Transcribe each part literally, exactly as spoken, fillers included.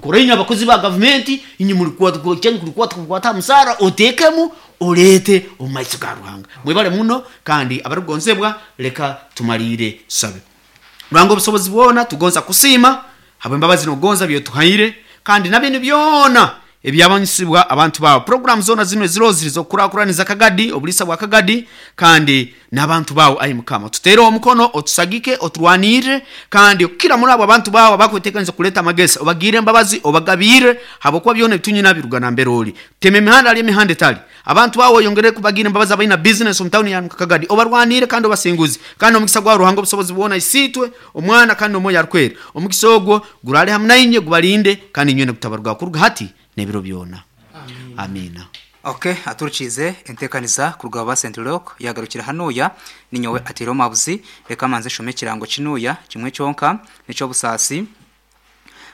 Kora inywe abakozi ba gavumenti, inywe mulikwata kukwata musara otekemu oleete omu maiso ga Ruhanga. Mwebale muno, kandi abarukugonzebwa, leka tumalire tusabe. Ruhanga obusobozi bwona, tugonza kusiima habw'embabazi n'okugonza byotuhaire, kandi na binu byona ebyabanyisibwa abantu bawe. Programu zona zino eziro ziri z'okukurakuraniza Kagadi, obuliisa bwa Kagadi, kandi n'abantu bawe. Ayi Mukama, tuteereho omukono, otusagike, oturwanirre, kandi okukira muri abo abantu bawe abakwetekaniza kuleta amagezi, obagirre embabazi, obagabirre, habwokuba byona ebitunyina biruga nambere oli. Tema emihanda hali emihanda etali abantu bawe, oyongere kubagira embabazi abalina business omu tawuni ya Kagadi, obarwanire kandi obasinguze. Kandi omukisa gwa Ruhanga obusobozi bwona, Isiitwe, Omwana kandi n'Omwoyo Arukwera, omukisa ogwo gurale hamu nainywe, gubalinde, kandi inywena gutabarugaho kuruga hati n'ebiro byona. Amina. Okay, aturukize entekaniza kuruga ba Saint Rock yagarukira hanuya. Ninyowe atiro mabuzi, reka manze shome ekirango kinuya kimwe kyonka nico busaasi.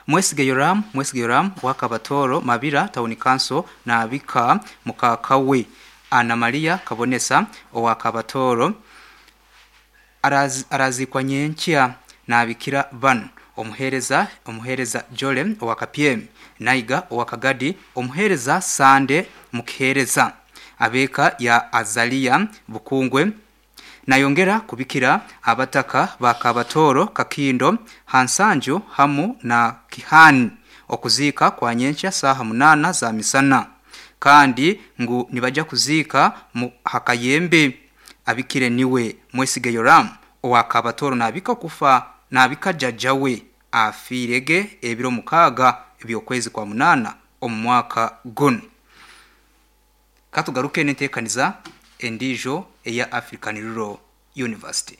Mwesige Yoram, Mwesige Yoram wakabatoro Mabira Town Council nabika mukakawe Ana Maria Kabonesa owakabatoro Araz, arazikwa nyenkya. Nabikira bano: omuhereza omuhereza Jole owakapyemi, Naiga owakagadi, omuhereza Sande mukihereza, abeka ya Azalia Bukungwe. Nayongera kubikira abataka bakabatoro, Kakindo, Hansanju hamu na Kihani. Okuziika kwa nyenkya saaha munana za misana, kandi ngu nibaja kuziika mu Hakayembe. Abikire niwe Mwesige Yoram owakabatoro, nabika kufa, nabika jajjawe afiirege ebiro mukaaga ebyokwezi kwa munana omu mwaka guno. Katugaruke n'enteekaniza endiijo eya African Rural University.